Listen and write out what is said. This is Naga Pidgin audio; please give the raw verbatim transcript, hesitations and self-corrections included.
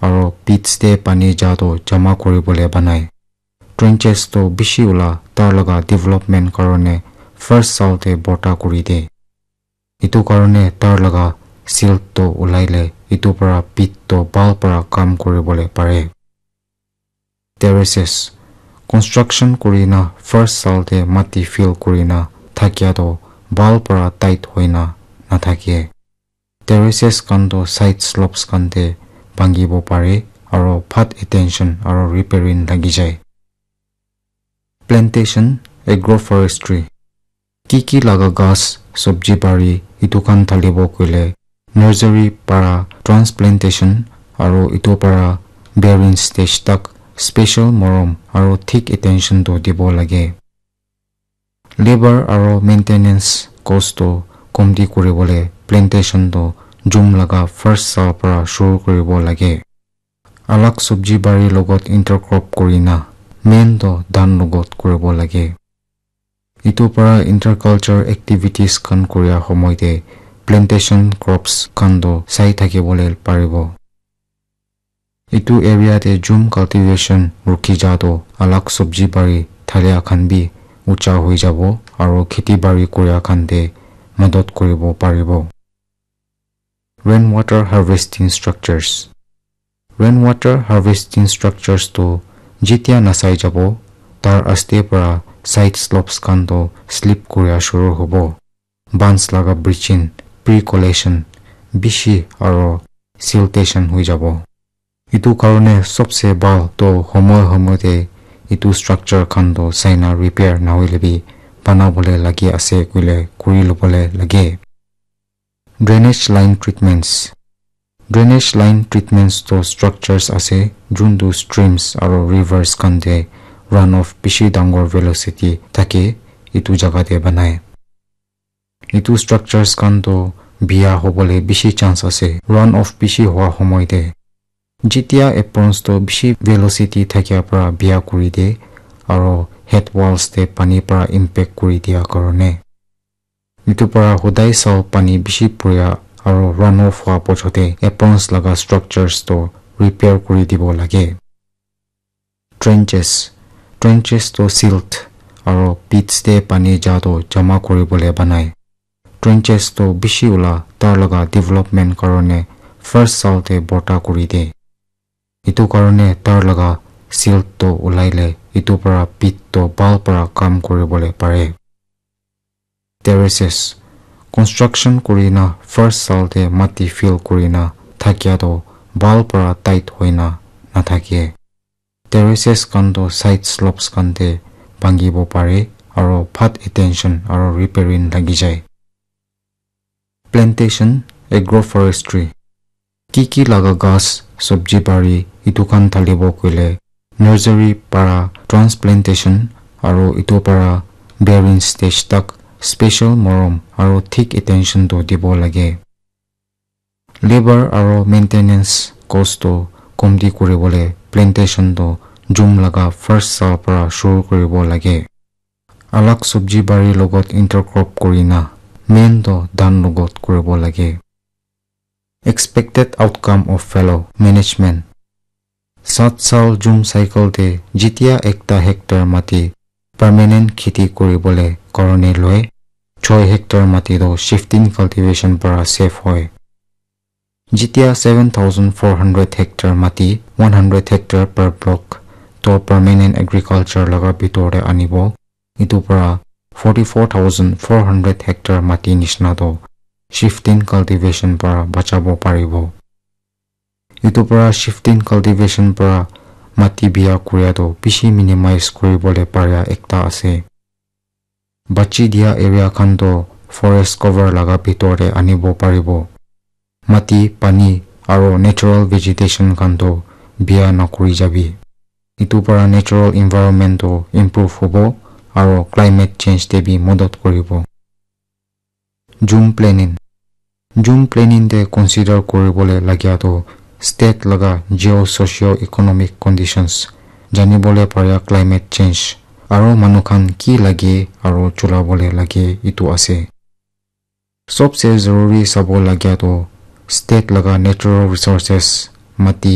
aro pits te pani ja toh jama kuribole banai. Trenches toh bishi ula tar laga development karone first sal te borta kuri de. Etu karone tar laga silt toh ulai le etu para pit toh bhal para kam kuribole pare. Terraces. Construction kurina first sal te mati fill kurina thakia toh bhal para tight hoina nathake. Terraces khan toh side slopes khan te bhangibo pare aro phat attention aro repairing lagi jai. Plantation, agroforestry. Ki ki laga ghas, sabji bari, etu khan thalibo koile nursery para transplantation aro etu para bearing stage tak special morom aro thik attention toh dibo lage. Labour aro maintenance cost toh komti kuribole plantation toh June laga first sal para shuru kuribo lage. Alag sabji bari logot intercrop kurina main toh dhan logot kuribo lage. Etu para interculture activities khan kuria homoi te plantation crops khan toh sai thakibole paribo. Etu area te jhum cultivation rukhi ja toh alag sabji bari thalia khan bi ucha hoi jabo aro kheti bari kuria khan te madad kuribo paribo. Rainwater harvesting structures. Rainwater harvesting structures toh jitia nasai jabo, tar aste para side slopes khan toh slip kuria shuru hobo. Bands laga breaching, pre-collection bishi aro siltation hoi jabo. Etu karone sobse bhal toh homoi homoi te etu structure khan toh saina repair nahoile bi banabole lagi ase koile kuri lobole lage. Drainage line treatments. Drainage line treatments toh structures ase juntu streams aro rivers khan te runoff bishi dangor velocity thake etu jaga te banai. Etu structures khan toh bia hobole bishi chance ase runoff bishi hua homoi te. Jitia aprons toh bishi velocity thakia para bia kuri de aro head walls te pani para impact kuri dia karone. Etu para hodai sal pani bishi puria aro runoff hua pochote aprons laga structures toh repair kuri dibo lage. Trenches. Trenches toh silt aro pits te pani ja toh jama kuribole banai. Trenches toh bishi ula tar laga development karone first sal te borta kuri de. Etu karone tar laga silt toh ulai le etu para pit toh bhal para kam kuribole pare. Terraces. Construction kurina first sal te mati fill kurina thakia toh bhal para tight hoina nathake. Terraces khan toh side slopes khan te bhangibo pare aro phat attention aro repairing lagi jai. Plantation, agroforestry. Ki ki laga ghas, sabji bari, etu khan thalibo koile nursery para transplantation aro etu para bearing stage tak special morom aro thik attention toh dibo lage. Labour aro maintenance cost toh komti kuribole plantation toh June laga first sal para shuru kuribo lage. Alag sabji bari logot intercrop kurina main toh dhan logot kuribo lage. Expected outcome of fallow management. Sat sal jhum cycle te jitia ekta hectare mati permanent kheti kuribole karone loi, choi hectare mati toh shifting cultivation para save hoi. Jitia seven thousand four hundred hectare mati, one hundred hectare per block toh permanent agriculture laga bitor te anibo, etu para forty four thousand four hundred hectare mati nishina toh shifting cultivation para bachabo paribo. Etu para shifting cultivation para mati bia kuria toh bishi minimize kuribole paria ekta ase. Bachi dia area khan toh forest cover laga bitor te anibo paribo. Mati, pani aro natural vegetation khan toh bia nakuri jabi. Etu para natural environment toh improve hobo aro climate change te bi madad kuribo. Jhum planning. Jhum planning te consider kuribole lagia toh state laga geo-socio-economic conditions, janibole paria climate change aro manu khan ki lage aro chulabole lage etu ase. Sobse zaruri sabo lagia toh state laga natural resources, mati,